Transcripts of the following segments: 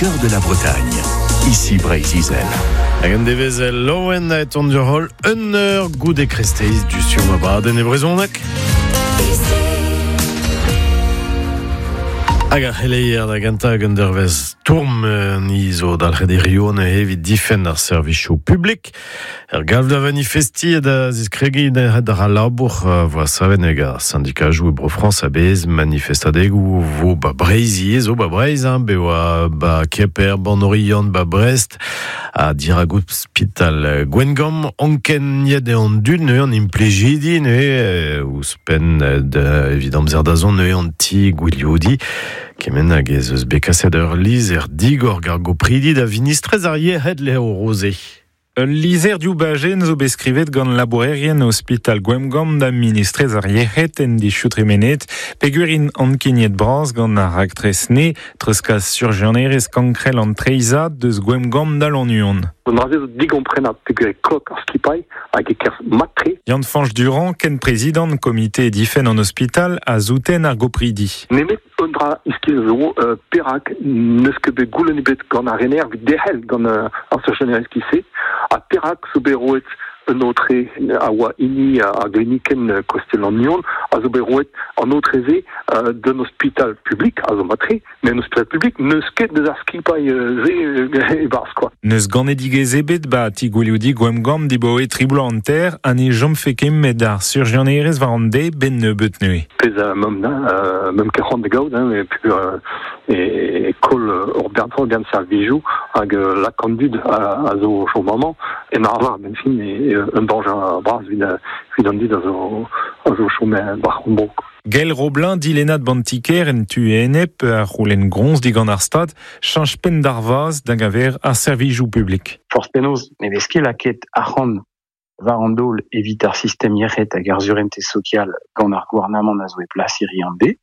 Cœur de la Bretagne. Ici Breizh-Izel. Hag an devezh laouen a eton ur holl un eur goude kresteiz du sur ma badenn e brezhoneg. Hag ar c'heleier da gentañ hag un dervezh tourm ni zo dalc'het e Rio neuze evit difenn ar servijoù publik. Ur galv da vanifestiñ ha da ziskregiñ d'ar labour voa savet hag ar syndikajoù e Bro-Frañs a-bezh manifestadegoù vo ba Breizh ivez zo ba Breizh hein, be oa ba Kemper, ban Oriant, ba Brest ha dirak ospital Gwengamp ankeniet eo an dud neuze an implijidi neuze ouzhpenn da evit amzer da zont neuze an ti gwilioudiñ kement hag ez eus bet kaset ur lizher digor gant gopridi da vinistrez ar yec'hed Léo Rosé. Ul lizher div bajenn zo bet skrivet gant labourerien ospital Gwemgamp da ministrez ar yec'hed en dizioù tremenet peogwir int ankeniet bras gant ar raktres-ne treuzkas surjianerezh kankrel an treizhad deus Gwemgamp da Lannuon. An dra-se zo digomprenabl peogwir e klok ar skipailh hag e kerzh mat-tre. Yann-Fañch Durand, kenprezidant komite difenn an ospital, a souten ar gopridi. Nemet un dra iskis zo, perak n'eus ket bet goulenn ebet gant ar rener evit derc'hel gant ar surjianerezh giz-se ha perak zo bet roet un aotre a oa hini ar glinikenn Kostel-Lannuon a zo bet roet an aotre-se d'un ospital publik a zo mat-tre met un ospital publik n'eus ket deus ar skipailh-se e-barzh quoi. N'eus ganedigezh ebet 'ba ti gwilioudiñ Gwemgamp dibaoe tri bloaz hanter ha ne chomfe ket met ar surjianerezh war an deiz 'benn nebeut neuze. Pezh a meump ket c'hoant da gaout hein, et puis e koll ur bern servijoù hag lak an dud a zo o chom amañ en arvar benn fin e un dañjer bras evit an dud a zo a zo chom war hon bro. Gael Roblin, dilennad bantiker en tu enep a c'houlenn groñs digant ar Stad cheñch penn d'ar vazh da geñver ar servijoù publik. Forzh penaos ne vez ket lakaet arc'hant war an daol evit ar sistem yec'hed hag ar surentez sokial gant ar gouarnamant a zo e plas hiriv an deiz.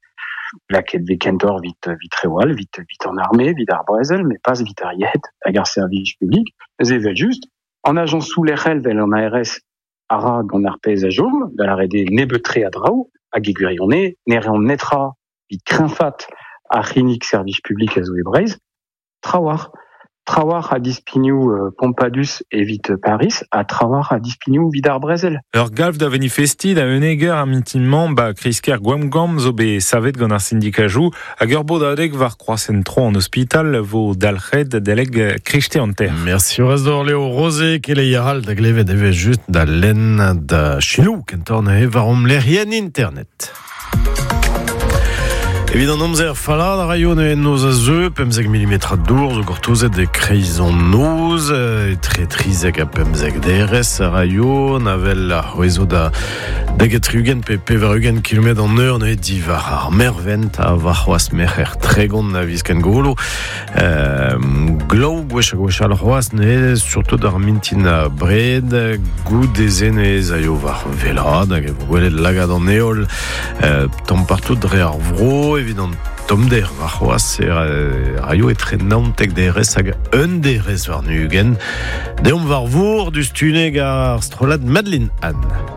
Lakaet vez kentoc'h evit evit reoù all, evit evit an arme, evit ar brezel, met pas evit ar yec'hed hag ar servij publik. Neuze evel-just, an ajañsoù lec'hel 'vel an ARS a ra gant ar pezh a chom, da lâret eo nebeut-tre a draoù, hag e gwirionez ne reont netra evit kreñfaat ar c'hinnig servij publik a zo e Breizh. Trawalc'h. Trawalc'h a dispignoù pompadus evit Pariz ha trawalc'h a dispignoù evit ar brezel. Ur galv da vanifestiñ da unnek eur ar mintin-mañ 'ba kreiz-kêr Gwemgamp zo bet savet gant ar sindikajoù Hag ur bodadeg war kroashent-tro an ospital vo dalc'het adalek kreiste hanter. Merci Horace Léo Rosé, keleier all da glevet evel just da lenn da selaou kentoc'h neuze war hom lec'hienn internet. Evit an amzer fallad a raio neuze noz a zeu, 15 mm dour zo gortozet e kreiz an noz, etre 13 ha 15 derez a raio, an avel a c'hwezo da 92 pe 80 km an eur neuze diwar ar mervent ha warc'hoazh merc'her 30 a viz Kengolo. Glav gwech ha gwech all c'hoazh neuze surtout ar mintin abred goude-se neuze aio war wellaat hag e vo gwelet lagad an heol tamm partout dre ar vro evit an tommder warc'hoazh e raio etre 19 derez hag un derez warn-ugent. Deomp war vor diouzhtu-neg ar strollad Madeline Anne.